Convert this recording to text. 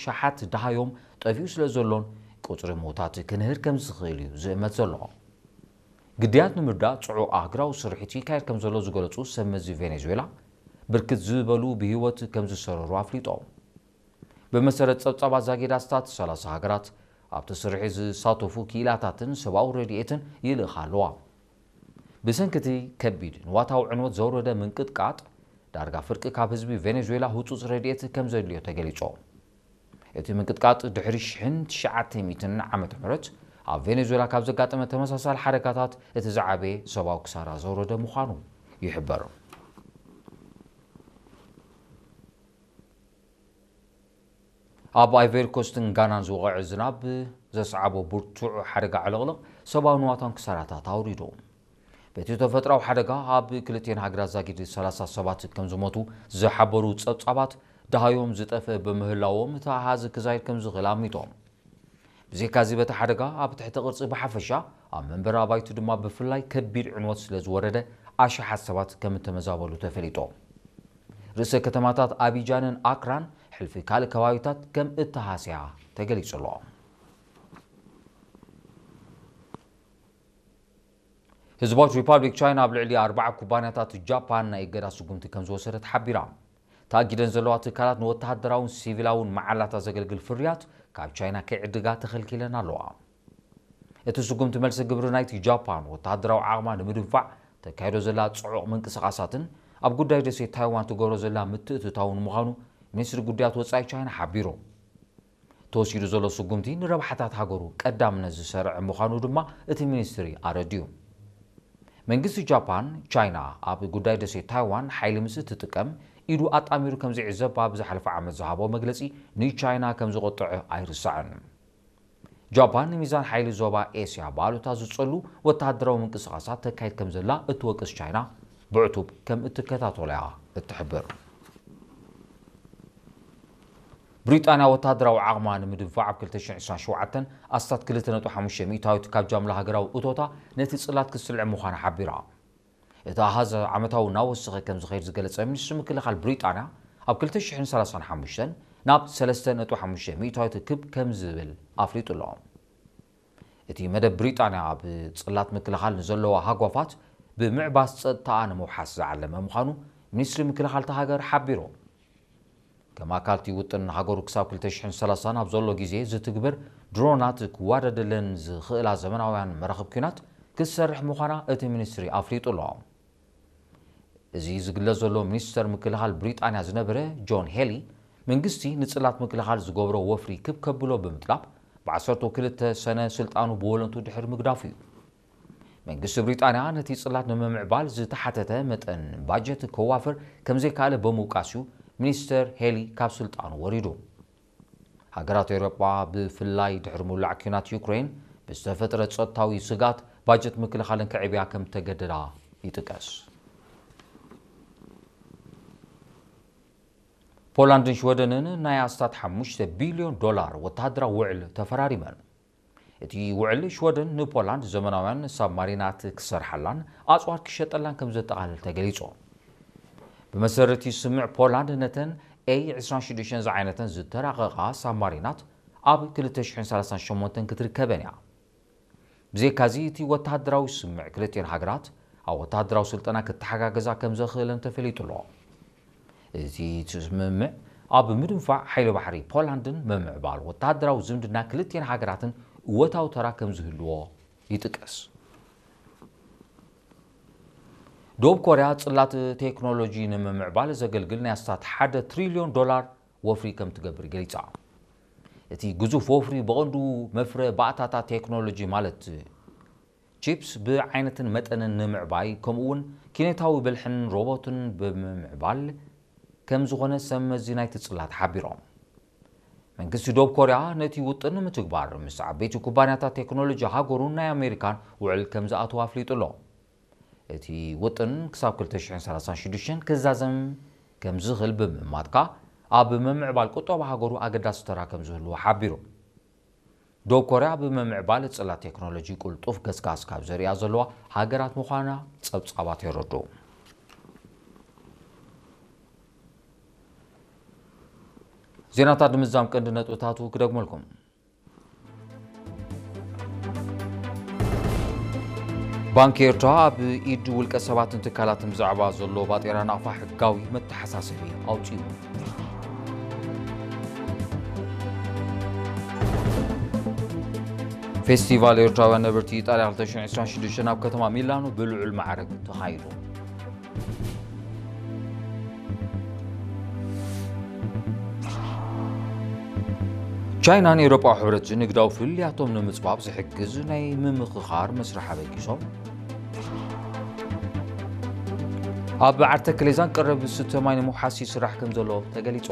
ታሓት ደሃዮም ጠፊኡ ስለ ዘሎን ቁጽሪ ምዉታት ክንህር ከም ዝኽእል እዩ ዝእመት ዘሎ። ግዳያት ንምርዳእ ጽዑቕ ኣህጉራዊ ስርሒት ይካየድ ከም ዘሎ ዝገለጹ ሰብ መዚ ቬኔዙዌላ፣ ብርክት ዝበሉ ብህይወት ከም ዝሰረሩ ኣፍሊጦም። ብመሰረት ጸብጻባት ዛጊድ ኣስታት ሰላሳ ሃገራት ኣብቲ ስርሒት ዝሳተፉ ክኢላታትን ሰብኣዊ ረድኤትን ይልእኻ ኣለዋ። ብሰንኪ እቲ ከቢድ ንዋታዊ ዕንወት ዘውረደ ምንቅጥቃጥ፣ ዳርጋ ፍርቂ ካብ ህዝቢ ቬኔዙዌላ ህጹጽ ረድኤት ከም ዘድልዮ ተገሊጹ። እቲ ምንቅጥቃጥ ድሕሪ ሽሕን ትሽዓተ ሚእትን ዓመተ ምህረት ኣብ ቬኔዙዌላ ካብ ዘጋጠመ ተመሳሳሊ ሓደጋታት እቲ ዝዓበየ ሰብኣዊ ክሳራ ዘውረደ ምዃኑ ይሕበር። ኣብ ኣይቨሪ ኮስትን ጋናን ዝወቐዐ ዝናብ ዘስዓቦ ብርቱዕ ሓደጋ ዕልቕልቕ ሰብኣዊ ንዋታን ክሳራታት ኣውሪዱ። በቲ ተፈጥራዊ ሓደጋ ኣብ ክልቲኤን ሃገራት ዛጊድ ሰላሳ ሰባት ከም ዝሞቱ ዝሓበሩ ጸብጻባት፣ ደሃዮም ዝጠፍአ ብምህላዎም እቲ ኣሃዝ ክዛይድ ከም ዝኽእል ኣሚቶም። ብዘይካዚ በቲ ሓደጋ ኣብ ትሕቲ ቅርጺ ብሓፈሻ ኣብ መንበሪ ኣባይቲ ድማ ብፍላይ ከቢድ ዕንወት ስለ ዝወረደ ኣሽሓት ሰባት ከም እተመዛበሉ ተፈሊጡ። ርእሰ ከተማታት ኣቢጃንን ኣክራን ሕልፊ ካልእ ከባቢታት ከም እተሃስያ ተገሊጹ ኣሎ። ህዝባዊት ሪፓብሊክ ቻይና ኣብ ልዕሊ ኣርባዓ ኩባንያታት ጃፓን ናይ እገዳ ስጉምቲ ከም ዝወሰደት ሓቢራ። ተኣጊደን ዘለዋ ትካላት ንወተሃደራውን ሲቪላውን መዓላታ ዘገልግል ፍርያት ካብ ቻይና ከይዕድጋ ተኸልኪለን ኣለዋ። እቲ ስጉምቲ መልሲ ግብሪ ናይቲ ጃፓን ወተሃደራዊ ዓቕማ ንምድንፋዕ ተካይዶ ዘላ ጽዑቕ ምንቅስቓሳትን ኣብ ጉዳይ ደሴት ታይዋን ትገብሮ ዘላ ምትእትታውን ምዃኑ ሚኒስትሪ ጉዳያት ወጻኢ ቻይና ሓቢሩ። ተወሲዱ ዘሎ ስጉምቲ ንረብሓታት ሃገሩ ቀዳምነት ዝሰርዐ ምዃኑ ድማ እቲ ሚኒስትሪ ኣረዲኡ። መንግስቲ ጃፓን፣ ቻይና ኣብ ጉዳይ ደሴት ታይዋን ሓይሊ ምስ እትጥቀም ኢዱ ኣጣሚሩ ከም ዝዕዘብ ኣብ ዝሓለፈ ዓመት ዝሃቦ መግለጺ ንቻይና ከም ዝቖጥዐ ኣይርሳዕን። ጃፓን ንሚዛን ሓይሊ ዞባ ኤስያ ብኣሉታ ዝጸሉ ወተሃደራዊ ምንቅስቓሳት ተካይድ ከም ዘላ እትወቅስ ቻይና፣ ብዕቱብ ከም እትከታተሎ እያ እትሕብር። ብሪጣንያ ወተሃደራዊ ዓቕማ ንምድንፋዕ ኣብ ክልተ ሽሕን ዕስራን ሸውዓተን ኣስታት ክልተ ነጥቢ ሓሙሽተ ሚእታዊት ካብ ጃምላ ሃገራዊ እቶታ ነቲ ጽላት ክትስልዕ ምዃና ሓቢራ። እቲ ኣሃዝ ዓመታዊ እናወሰኸ ከም ዝኸይድ ዝገለጸ ሚኒስትሪ ምክልኻል ብሪጣንያ፣ ኣብ ክልተ ሽሕን ሰላሳን ሓሙሽተን ናብ ሰለስተ ነጥቢ ሓሙሽተ ሚእታዊት ክብ ከም ዝብል ኣፍሊጡ ኣሎ። እቲ መደብ ብሪጣንያ ኣብ ጽላት ምክልኻል ንዘለዋ ሃጓፋት ብምዕባስ ጸጥታኣ ንምውሓስ ዝዓለመ ምዃኑ ሚኒስትሪ ምክልኻል እታ ሃገር ሓቢሩ። ከም ኣካል እቲ ውጥን፣ ሃገሩ ክሳብ ክልተ ሽሕን ሰላሳን ኣብ ዘሎ ግዜ ዝትግበር ድሮናት ክዋደደለን ዝኽእላ ዘመናውያን መራኽብ ኲናት ክትሰርሕ ምዃና እቲ ሚኒስትሪ ኣፍሊጡ ኣሎ። እዚ ዝግለጽ ዘሎ ሚኒስተር ምክልኻል ብሪጣንያ ዝነበረ ጆን ሄሊ፣ መንግስቲ ንጽላት ምክልኻል ዝገብሮ ወፍሪ ክብ ከብሎ ብምጥላብ፣ ብዓሰርተ ክልተ ሰነ ስልጣኑ ብወለንቱ ድሕሪ ምግዳፉ እዩ። መንግስቲ ብሪጣንያ ነቲ ጽላት ንምምዕባል ዝተሓተተ መጠን ባጀት ከዋፍር ከም ዘይከኣለ ብምውቃስ እዩ ሚኒስተር ሄሊ ካብ ስልጣኑ ወሪዱ። ሃገራት ኤውሮጳ፣ ብፍላይ ድሕሪ ምውላዕ ኲናት ዩክሬን ብዝተፈጥረ ጸጥታዊ ስግኣት፣ ባጀት ምክልኻለን ከዕብያ ከም ተገደዳ ይጥቀስ። ፖላንድን ሽወደንን ናይ ኣስታት ሓሙሽተ ቢልዮን ዶላር ወተሃደራዊ ውዕል ተፈራሪመን። እቲ ውዕል ሽወደን ንፖላንድ ዘመናውያን ሳብማሪናት ክሰርሓላን ኣጽዋር ክሸጠላን ከም ዘጠቓልል ተገሊጹ። ብመሰረት እቲ ስምምዕ፣ ፖላንድ ነተን ኤይ ዕስራን ሽዱሽተን ዝዓይነተን ዝተራቐቓ ሳብማሪናት ኣብ ክልተ ሽሕን ሰላሳን ሸሞንተን ክትርከበን እያ። ብዘይካዚ፣ እቲ ወተሃደራዊ ስምምዕ ክልቲኤን ሃገራት ኣብ ወተሃደራዊ ስልጠና ክተሓጋገዛ ከም ዘኽእለን ተፈሊጡ ኣሎ። እዚ ስምምዕ ኣብ ምድንፋዕ ሓይሊ ባሕሪ ፖላንድን ምምዕባል ወተሃደራዊ ዝምድና ክልቲኤን ሃገራትን እወታዊ ተራ ከም ዝህልዎ ይጥቀስ። ደቡብ ኮርያ ጽላት ቴክኖሎጂ ንምምዕባል ዘገልግል ናይ ኣስታት ሓደ ትሪልዮን ዶላር ወፍሪ ከም ትገብር ገሊጻ። እቲ ግዙፍ ወፍሪ ብቐንዱ መፍረ ባእታታት ቴክኖሎጂ ማለት ቺፕስ ብዓይነትን መጠንን ንምዕባይ፣ ከምኡ እውን ኪነታዊ ብልሕን ሮቦትን ብምምዕባል ከም ዝኾነ ሰብ መዚ ናይቲ ጽላት ሓቢሮም። መንግስቲ ደቡብ ኮርያ ነቲ ውጥን ንምትግባር ምስ ዓበይቲ ኩባንያታት ቴክኖሎጂ ሃገሩን ናይ ኣሜሪካን ውዕል ከም ዝኣተወ ኣፍሊጡ ኣሎ። እቲ ውጥን ክሳብ ክልተ ሽሕን ሰላሳን ሽዱሽተን ክዛዘም ከም ዝኽእል ብምእማት ከኣ፣ ኣብ ምምዕባል ቁጠባ ሃገሩ ኣገዳሲ ተራ ከም ዝህልዎ ሓቢሩ። ደቡብ ኮርያ ኣብ ምምዕባል ጽላት ቴክኖሎጂ ቅልጡፍ ገስጋስ ካብ ዘርእያ ዘለዋ ሃገራት ምዃና ጸብጻባት የረድኡ። ዜናታት ንምዝዛም ቀንዲ ነጥብታቱ ክደግመልኩም። ባንኪ ኤርትራ ኣብ ኢድ ውልቀ ሰባትን ትካላትን ብዛዕባ ዘሎ ባጤራ ናቕፋ ሕጋዊ መተሓሳሰቢ ኣውጺኡ። ፌስቲቫል ኤርትራውያን ነበርቲ ኢጣልያ ክልተ ሽሕን ዕስራን ሽዱሽተን ኣብ ከተማ ሚላኖ ብልዑል ማዕረግ ተኻይዱ። ቻይናን ኤውሮጳዊ ሕብረትን ንግዳዊ ፍልልያቶም ንምጽባብ ዝሕግዝ ናይ ምምኽኻር መስርሕ ኣበጊሶም። ኣብ ዓዲ ተከሌዛን ቀረብ ዝስተ ማይ ንምውሓስ ይስራሕ ከም ዘሎ ተገሊጹ።